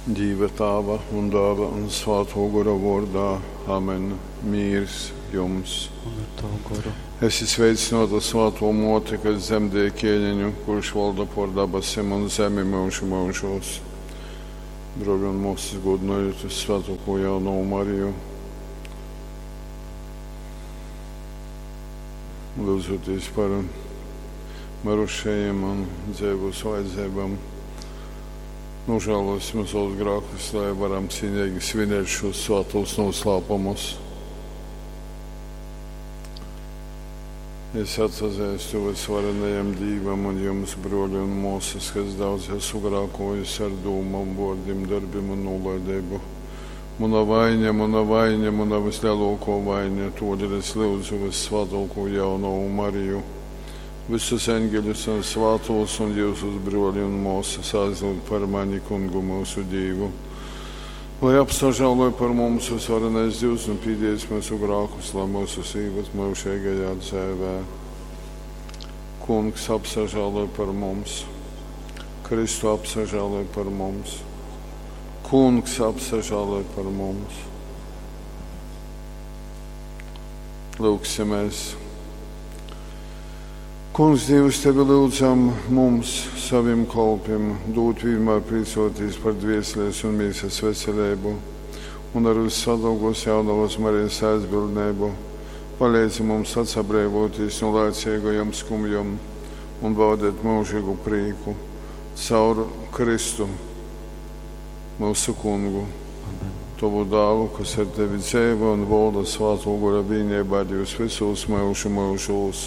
Dīva Tāva un Dāla un Svātō Gora vōrdā. Amen. Mīrs jums! Un ar tavu goru. Esi sveicināta Svātō Mōte, kas dzemdēja ķēniņu, kurš valda pār dabasim un zemi mūžu mūžos. Brōļi un māsas, godinojot Svētoko jaunovu Mariju, lūdzoties par mirušajiem un dzīvos vajadzībām. Nožēlosim savus grēkus, lai varam cienīgi svinēt šos svētos noslēpumus. Es atzīstu visvarenajam Dievam un jums, broļi un māsas, kas daudz esmu grēkojis ar dūmām, vārdiem, darbiem un nolaidību. Mana vaina, mana vaina, mana vislielāko vaina, todēļ es lūdzu vissvētāko jaunovu Mariju, visus eņģeļus un svētos un jūsus broļi un māsas aizlūgt par mani kungu mūsu Dievu. Lai apsažāloj par mums visvarenais Dievs un pīdies mūsu grēkus, lai mūsu sīvas mūžīgajā dzēvē. Kungs apsažāloj par mums, Kristu apsažāloj par mums, Kungs apsažāloj par mums. Lūksimies! Kungs, Dievs, tevi lūdzam mums, saviem kalpiem, dot vienmēr priecoties par dvēseles un mīsas veselību un ar vissadalgos jaunavas Marijas aizbildnību. Palīdzi mums atsabrēvoties no laicīgajiem skumjām un baudīt mūžīgu prieku caur Kristu, mūsu kungu, Amen. tavu dālu, kas ar tevi dzīvo un valda svāto gora vienībā Dievs visos mūžu mūžos.